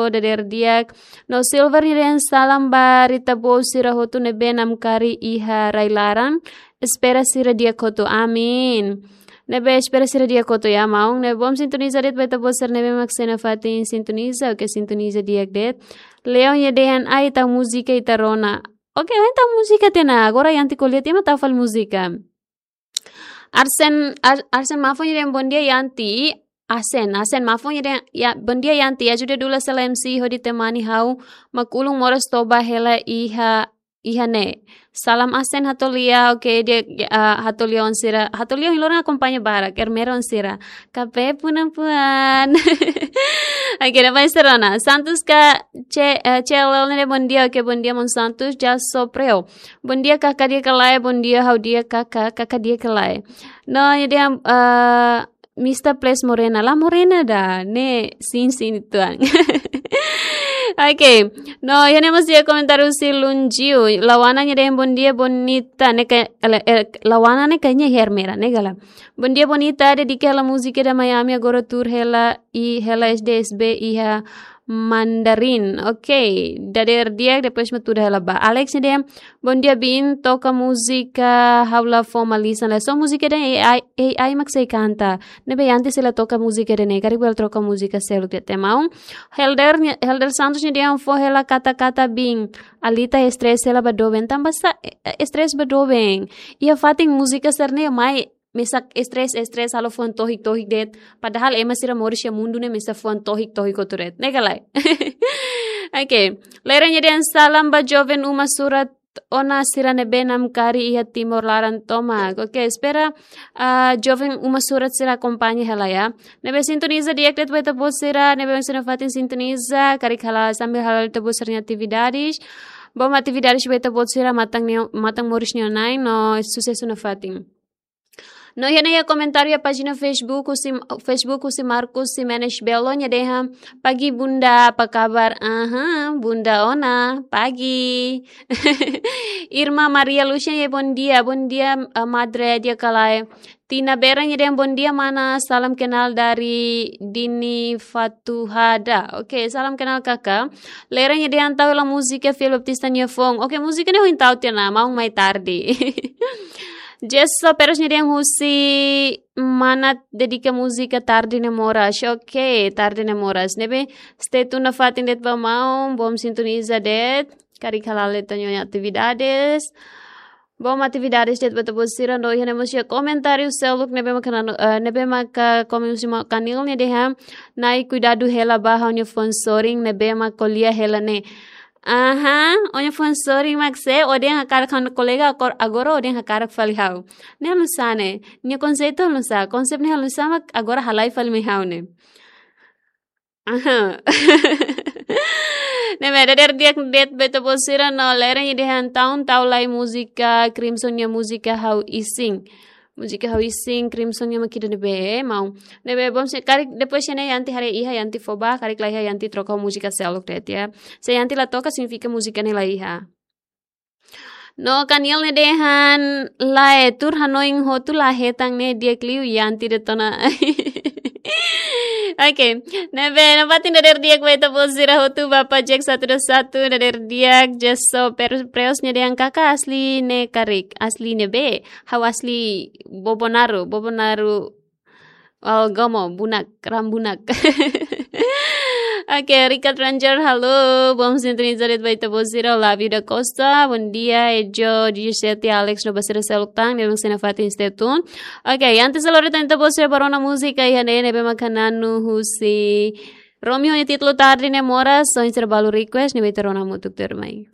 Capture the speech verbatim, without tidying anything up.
dadeer di'ak. No Silver nia dehan salam ba ita-boot sira hotu ne'ebé namkari iha rai-laran. Espera sira di'ak hotu. Amin. Ne'ebé espera sira di'ak hotu ya, maun. Ne'ebé bom sintoniza de'it ba ita-boot sira ne'ebé mak sei nafatin sintoniza, oke, sintoniza di'ak de'it. Leon nia dehan ai tau múzika ita rona. Oke, ohin tau múzika tiha ona, agora Yanti ko'alia tiha mak tau fali múzika. Arsen, Ar-, Arsen Mafo nia dehan bom dia Yanti. Asen, Asen Mafo nia dehan, ya, bom dia Yanti. Ajuda dula sela M C hodi temani ha'u mak ulun moras toba hela iha, iha ne'e. Salam Asen Hatolia, oke, di'ak, ah, Hatolia oan sira. Hatolia ohin loron akompaña barak, Ermera oan sira. Kape punan puan. Oke, na mai serona. Santos ka ce, eh, Celel nia dehan bom dia, oke, bom dia maun Santos, Jaso Preo. Bom dia kaka di'ak ka lae, bom dia ha'u di'ak kaka, kaka di'ak ka lae. No, nia dehan, eh, Mister Plus Morena, la Morena ida, ne'e, sin, sin, tuan. Oke, no, iha ne'e mós iha komentáriu husi Lunjiu, Lawana nia dehan bom dia bonita, ne'e ka, ele, ele, Lawana ne'e kayaknya Ermera, ne'e ka lae. Bom dia bonita, dedika hela múzika ida Miami agora tuur hela i hela S D S B iha Mandarin. Oke, dadeer di'ak, depois mak tuur hela ba. Alex nia dehan, bom dia Bin, toka múzika ha'u la fó malisan lae. Só múzika ida A I, A I mak sei kanta. Ne'ebé Yanti sei la toka múzika ida-ne'e, karik bele troka múzika seluk de'it maun. Helder nia, Helder Santos nia dehan fó hela kata-kata Bin. Alita estrés hela ba doben, tanbasá, eh, eh, estrés ba doben. Iha fatin múzika sira-ne'e mai mesak estrés, estrés, halo fuan tohik, tohik de'it. Padahal ema sira moris iha mundu ne'e mesak fuan tohik, tohik hotu de'it. Ne'e ka lae. Oke. Leren nia dehan salam ba joven uma surat ona sira ne'ebé namkari iha Timor laran tomak. Oke, espera, ah, joven uma surat sira akompaña hela ya. Ne'ebé sintoniza di'ak de'it ba ita-boot sira, ne'ebé mak sei nafatin sintoniza, karik hala'o sambil hala'o ita-boot sira-nia atividades. Bom atividades ba ita-boot sira matan nia, matan moris nia na'in, no susesu nafatin. No iha ne'e iha komentáriu iha pájina Facebook husi, Facebook husi Marcos Ximenes Belo nia dehan, pagi Bunda, apa kabar? Aha, Bunda ona, pagi. Irma Maria Lucia nia bom dia, bom dia, eh, madre di'ak ka lae. Tina Berang nia dehan bom dia mana, salam kenal dari Dini Fatuhada. Oke, salam kenal kaka. Leren nia dehan tau hela múzika Fiel Baptista nia foun. Oke, múzika ne'e ohin tau tiha ona, maun mai tarde. Jesso Perez nia dehan husi Manat dedika múzika Tarde Ne'e Moras. Oke, Tarde Ne'e Moras. Ne'ebé stay tune nafatin de'it ba maun, bom sintoniza de'it. Karik hala'o ita-nia atividades. Bom atividades de'it ba ita-boot sira, no iha ne'e mós iha komentáriu seluk ne'ebé maka nanu, eh, ne'ebé maka komen husi maun Kanil nia dehan, Nai kuidadu hela ba ha'u-nia fuan sorin ne'ebé mak ko'alia hela ne'e. Aha, ó-nia fuan sorin mak sé, ó dehan hakarak ha'u-nia kolega, akor-, agora ó dehan hakarak fali ha'u. Ne'e oinsá ne'e, nia konseitu oinsá, konsep ne'e oinsá mak agora halai fali mai ha'u ne'e. Aha. Ne'ebé dadeer di'ak de'it ba ita-boot sira no Leren nia dehan tau, tau lai múzika Crimson nia múzika Ha'u Isin. Múzika Ha'u Isin Crimson nia mak ida-ne'ebé, maun. Ne'ebé bom se karik depois ne'e Yanti haree iha Yanti fó ba, karik la iha Yanti troka múzika seluk de'it ya. Se Yanti la toka signifika múzika ne'e la iha. No Kaniel nia dehan lae, tuur hanoin hotu la hetan ne'e di'ak liu Yanti de'it ona. Oke, ne'ebé nafatin dadeer di'ak ba ita-boot sira hotu, Bapa Jack satu dua satu, dadeer di'ak. Jesso Per-, Preos nia dehan kaka asli ne'e karik, asli ne'ebé, ha'u asli Bobonaro, Bobonaro. Oh, Gomo, Bunak, Rambunak. Oke, Richard Ranger, halo, bom sintoniza de'it ba ita-boot sira, Olá Vida Costa, bom dia, Ejo, Dj Seti, Alex, no ba sira seluk tan, ne'ebé mak sei nafatin stay tune. Oke, antes de lori tan ita-boot sira ba rona múzika iha ne'e, ne'ebé mak nanu husi Romeo nia títulu Tarde Ne'e Moras, oinsá balu request, ne'ebé ita rona hamutuk tuirmai.